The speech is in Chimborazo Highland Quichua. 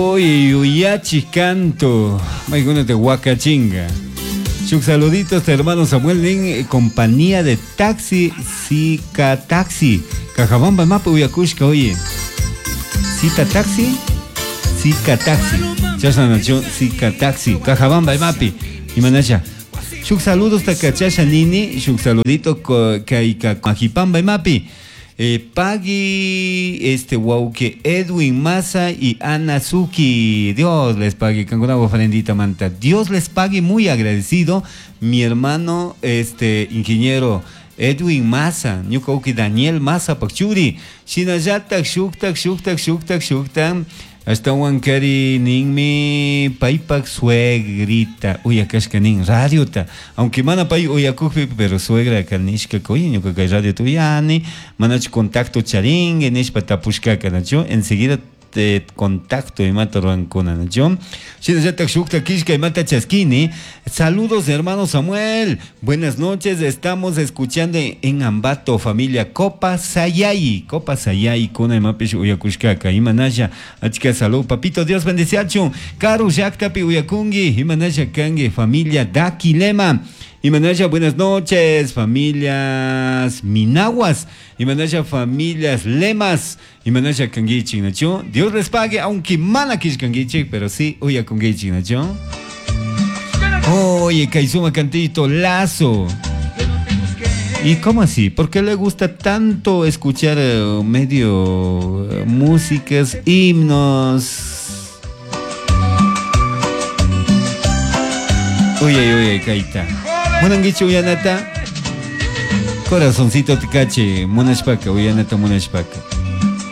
Oye, yuyachi canto. Maykunata wakachinga. Shuk saluditos, hermano Samuel nin, compañía de taxi, Zika Taxi. Cajabamba mapa uyakushka, oye. Zika Taxi, Zika Taxi. Chashna nacho, Zika Taxi. Cajabamba mapi. Imanasha. Shuk saludos takachasha nini, shuk saludito kayka Majipamba mapi. Pagui este wauke Edwin Maza y Ana Suki. Dios les pague, kankunapaj ofrendita manta. Dios les pague, muy agradecido. Mi hermano, este ingeniero Edwin Maza, ñuka uki Daniel Maza pakchuri. Shinallatak shuktak shuktak shuktak shuktak. Ashtawan kari ninmi paypak suegrita uyakashka nin radiota. Aunque mana pay uyakukpi, pero suegra kanishka oye ñuka kay radiota uyani, manachu contacto charingue nishpa tapushkaka nachu, enseguida te contacto imata ruwankuna nachu. Shinallatak shukta kishka imata chaskini. Saludos hermano Samuel, buenas noches, estamos escuchando en Ambato familia Copa Sayay, Copa Sayay kuna imapish uyakushkaka imanasha achka salud papito, Dios bendeciachun, karu llaktapi uyakungi imanasha kangi familia Daquilema. Imanasha, buenas noches, familias Minaguas, Imanasha, familias Lemas, Imanasha kangichik, nacho. Dios les pague, aunque mana kangichik, pero sí, uyakungichik, nacho. Oye, Kaizuma cantito, Lazo. ¿Y cómo así? ¿Por qué le gusta tanto escuchar medio músicas, himnos? Oye, oye, Kaita. Munanguichu uyanata, corazoncito te cache, munashpaka, uyanata munashpaka.